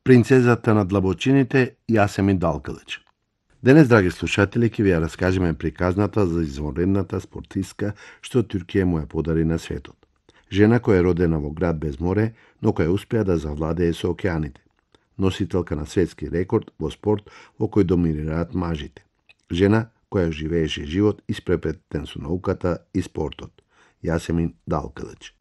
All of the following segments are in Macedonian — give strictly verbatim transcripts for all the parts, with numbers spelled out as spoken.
Принцезата на длабочините Јасемин Далкалич. Денес, драги слушатели, ќе ви ја раскажеме приказната за извонредната спортистка што Туркија му ја подари на светот. Жена која е родена во град без море, но која успеа да завладее со океаните. Носителка на светски рекорд во спорт во кој доминираат мажите. Жена која живееше живот испрепретен со науката и спортот. Јасемин Далкалич.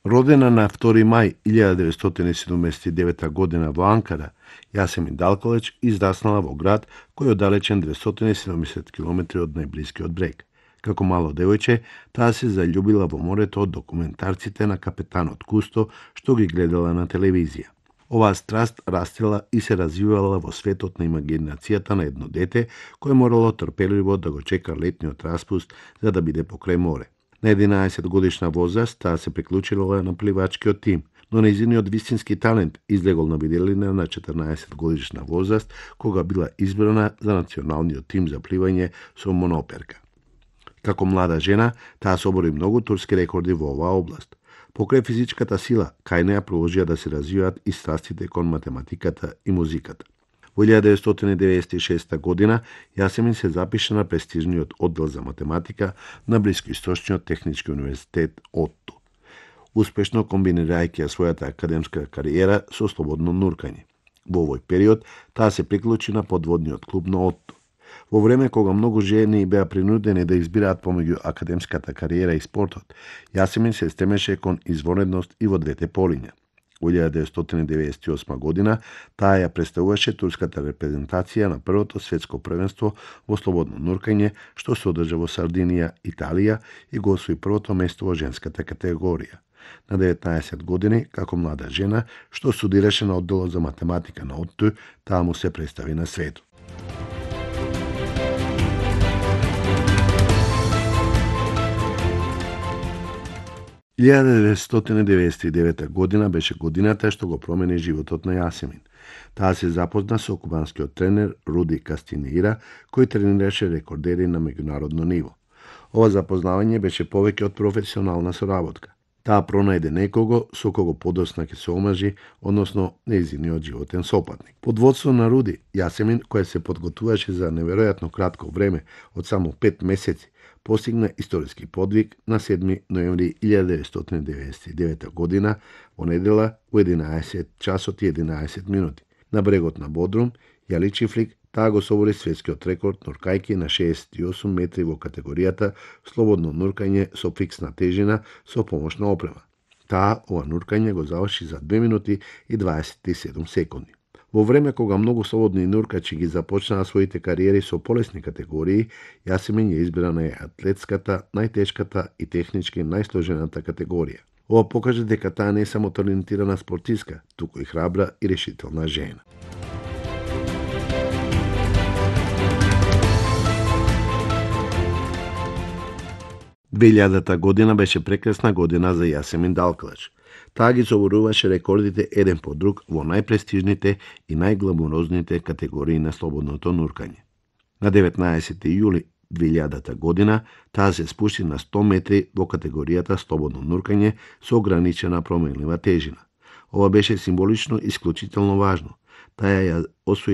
Родена на втори мај илјада деветстотини и седумдесет и девета година во Анкара, Јасемин Далкалич израснала во град кој е оддалечен деветстотини и седумдесет километри од најблискиот брег. Како мало девојче, таа се заљубила во морето од документарците на капетанот Кусто што ги гледала на телевизија. Оваа страст растела и се развивала во светот на имагинацијата на едно дете кое морало трпеливо да го чека летниот распуст за да биде покрај море. На единаесет годишна возраст таа се приклучила на пливачкиот тим, но нејзиниот вистински талент излегол на виделина на четрнаесет годишна возраст кога била избрана за националниот тим за пливање со моноперка. Како млада жена, таа собори многу турски рекорди во оваа област. Покрај физичката сила, кај неа продолжија да се развиваат и страстите кон математиката и музиката. Во илјада деветстотини деветдесет и шеста година Јасемин се запиша на престижниот оддел за математика на Блискоисточниот технички универзитет ОТТО, успешно комбинирајќи ја својата академска кариера со слободно нуркање. Во овој период таа се приклучи на подводниот клуб на ОТТО. Во време кога многу жени беа принудени да избираат помеѓу академската кариера и спортот, Јасемин се стремеше кон извонредност и во двете полиња. Во илјада деветстотини деветдесет и осма година таа ја представуваше турската репрезентација на првото светско првенство во слободно нуркање што се одржа во Сардинија, Италија и го освои првото место во женската категорија. На деветнаесет години, како млада жена, што студираше на одделот за математика на ОТТО, таа му се представи на светот. илјада деветстотини деветдесет и девета година беше годината што го промени животот на Јасемин. Таа се запозна со кубанскиот тренер Руди Кастинеира, кој тренираше рекордери на меѓународно ниво. Ова запознавање беше повеќе од професионална соработка. Таа пронајде некого со кого подосна ќе се омажи, односно нејзиниот животен сопатник. Под водство на Руди, Јасемин, која се подготвуваше за неверојатно кратко време, од само пет месеци, постигна историски подвиг на седми ноември илјада деветстотини деветдесет и девета година во недела во единаесет часот и единаесет минути. На брегот на Бодрум, Јали Чифлик, таа го собори светскиот рекорд нуркајки на шеесет и осум метри во категоријата слободно нуркање со фиксна тежина со помошна опрема. Таа ова нуркање го заврши за две минути и дваесет и седум секунди. Во време кога многу слободни нуркачи ги започнаа своите кариери со полесни категории, Јасемин ја избра најатлетската, најтешката и технички најсложената категорија. Ова покажа дека таа не е само талентирана спортистка, туку и храбра и решителна жена. две илјадата година беше прекрасна година за Јасемин Далкалич. Таа ги соборуваше рекордите еден по друг во најпрестижните и најгламурозните категории на слободното нуркање. На деветнаесети јули две илјадата година таа се спушти на сто метри во категоријата слободно нуркање со ограничена променлива тежина. Ова беше символично исклучително важно. Таа ја освои